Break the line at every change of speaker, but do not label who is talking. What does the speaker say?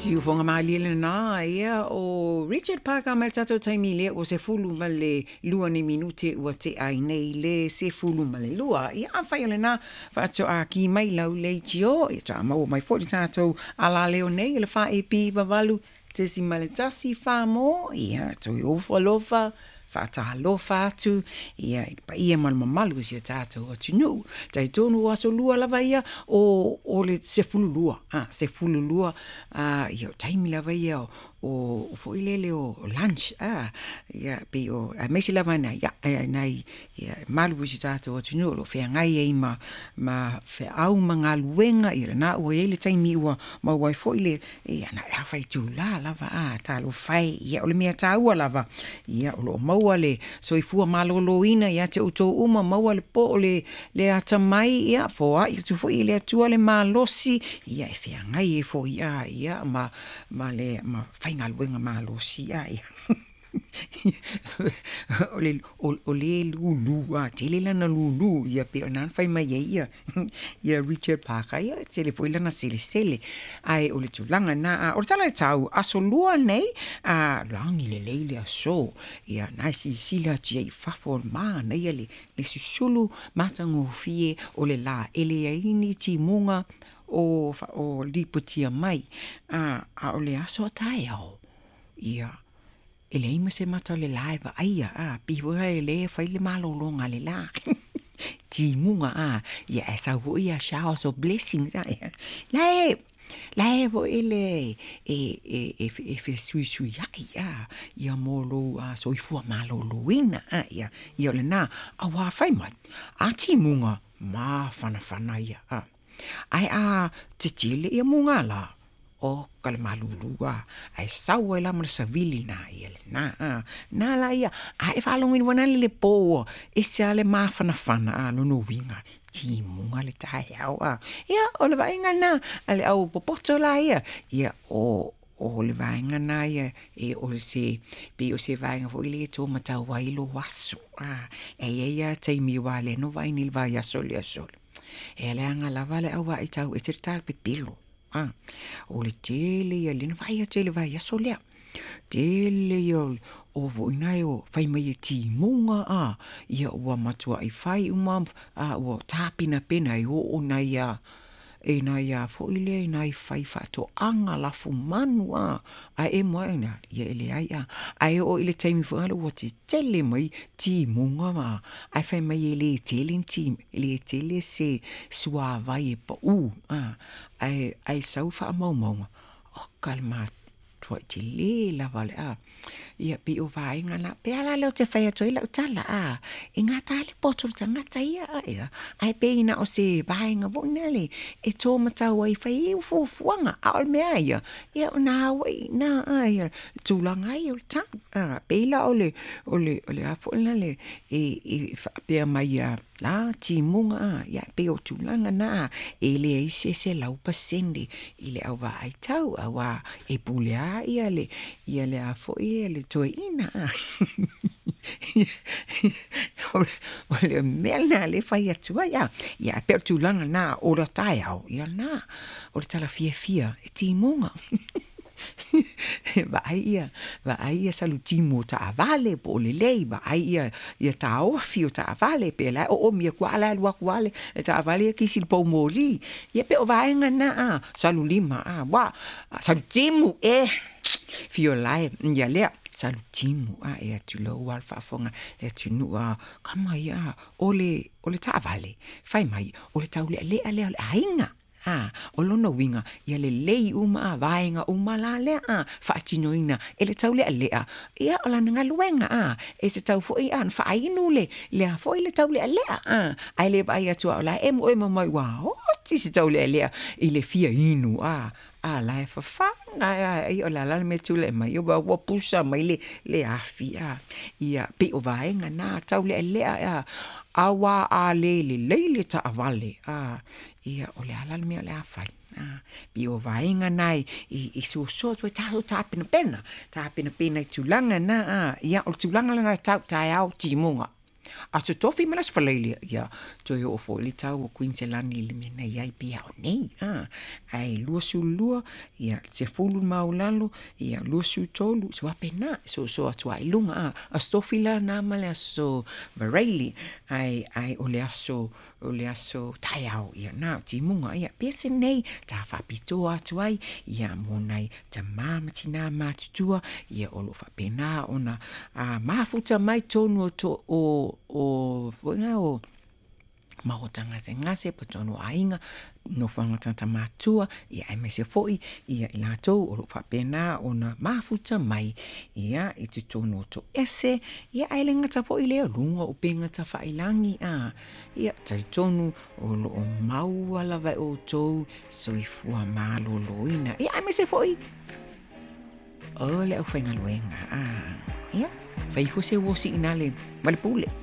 Siufoga malie lena, ia, o Richard Parker mai le tatou taimi lea ua 12 ni minute ua tea ai nei le 12. Ia, afai o lena faatoa ki mai lau leitio, ia toa maua mai foi le tatou alaleo nei, le 4AP 8.14 mo, ia, toe ofo alofa, faatalofa atu, ia, i le paia ma le mamalu o si o tatou atunuu. Talitonu o aso lua lava ia o le 12, 12, ia, o taimi lava ia o foi lele o lunch, ia, pei o, aemaise lava nai, ia, nai, ia, mamalu o si o tatou atunuu o lo o feagai ai ma feau ma galuega, ia lena ua i ai le taimi ua maua ai foi le, ia, na o le afa itula lava, talofa e, ia, o le mea taua lava, ia, o lo o maua le soifua maloloina ia te outou uma, maua le po o le atamai, ia, foai atu foi e le Atua le malosi, ia, e feagai ai foi, ia, ma le faigaluega malosi, ia. O le lulu, tele lana lulu, ia pei ona fai mai ai ia, ia Richard Parker, ia tele foi lana selesele. Ae o le tulaga na, o le tala i le tau, aso lua nei, lagi lelei le aso, ia, na e silasila atu ai i fafo o le manaia le susulu matagofie o le la, e leai ni timuga o lipotia mai, a o le aso a taeao, ia, e leai ma se mata o le la e vaaia, pei foi lea e fai le malologa a le la. Timuga, ia, e sau foi ia showers of blessings, ia. La e foi le e fesuisuiai, ia mo lou soifua maloloina, ia, ia o lena, auā fai mai, a timuga, mafanafana ia, Ae a tetele ia muga la, o ka le malulu, ae sau ai la ma le savili na, ia lena, na la ia, a e faalogoina foi lea i le po ua ese lava le mafanafana, lona uiga, timuga le taeao, Ia, o le vaaiga lena a le au popoto la ia, ia, o le vaega na ia, e o se, pei o se vaega foi lea e taumatau ai lou aso, E i ai lava taimi aua o lea na ou vaai nei i le vaiaso lea ua sola, e leaga lava le au vaai tau ese le talapepelo, o le tele ia, lea na vaai atu ai i le vaiaso lea, tele ia o foi na e fai mai e timuga, ia ua matuai fai uma, ua tapenapena e oo nai a, e nai a foi lea, nai faifaatoaga lafumanu, ae emo ae ina, ia e leai, ae oo i le taimi foi lea ua tetele mai timuga, ae fai mai e le tele ni e le tele se suavai e pau, ae sau faamaumauga, o ka le matuai tele lava o le ia pei o vaega na, pe a la lea ou te fai atu ai lau tala, e gata lava le poto o le tagata ia, ia, ae pei na o se vaega foi lea e taumatau ai e fai ai fuafuaga, a o le mea lava ia, ia o na au ai i ina, ia le tulaga lava ia o le tau. Pei la o le a foi lea e faapea mai ia la timuga, ia pei o tulaga na, e leai se 100% i le au vaai tau, auā e pule lava ia le, ia le a foi le toeaina. O le mea lena lea e fai atu ai, ia pei o le tulaga lena o le taeao, ia lena, o le tala fiafia e timuga. Vaai ia, vaai ia salutimu o taavale po o lelei, vaai ia, ia taofi o taavale, pe la e oomi atu lava la e alu atu lava le taavale ia kisi i le poumoli. Ia pei o vaega na, salu lima, ua, salutimu, e, fio la e, ia lea, salutimu, e tulou lava le faafofoga le atunuu, kama ia, o le taavale, fai mai, o le taulealea lea o le aiga. O lona uiga, ia lelei uma, vaega uma la lea, faatinoina e le taulealea, ia o lana galuega, e tatau foi ona faainu le lea foi le taulealea, ae le vaai atu o la e emoemo mai ua oti se taulealea i le fia inu, la e fafaga, ia o le a la le mea e tulai mai, ua pusa mai le afi, ia pei o vaega na taulealea, auā a le lelei le taavale, ia o le a la le mea o le a fai, pei o vaega na e sosoa atu ai tatou tapenapena, tapenapena i tulaga na, ia o le tulaga lena tau taeao timuga. Aso Tofi ma le Aso Faraile, ia, toe oo foi le tau o Kuiniselani i le mea na i ai pei a o nei, a, ae 22, ia, 10 le maualalo, ia, 23, se faapena, e soso atu lava i luga, a. Aso Tofi la na ma le Aso Faraile, ae, ae o le aso, o le aso taeao, ia, na o timuga, ia, pese nei, ta faapitoa atu ai, ia, mo nai tamā ma tinā matutua, ia, o lo o faapena ona a, mafuta mai tonu o to, o, o, foi na o, maota gasegase po o tonu o aiga, nofoaga tagata matutua, ia aemaise foi ia i latou o lo o faapena ona mafuta mai ia i totonu o toese, ia ae le gata foi i lea, o luga o upega tafailagi, a, ia talitonu o lo o maua lava e outou soifua maloloina, ia aemaise foi o le aufaigaluega, a, ia fai ifo se uo siinale ma le pule.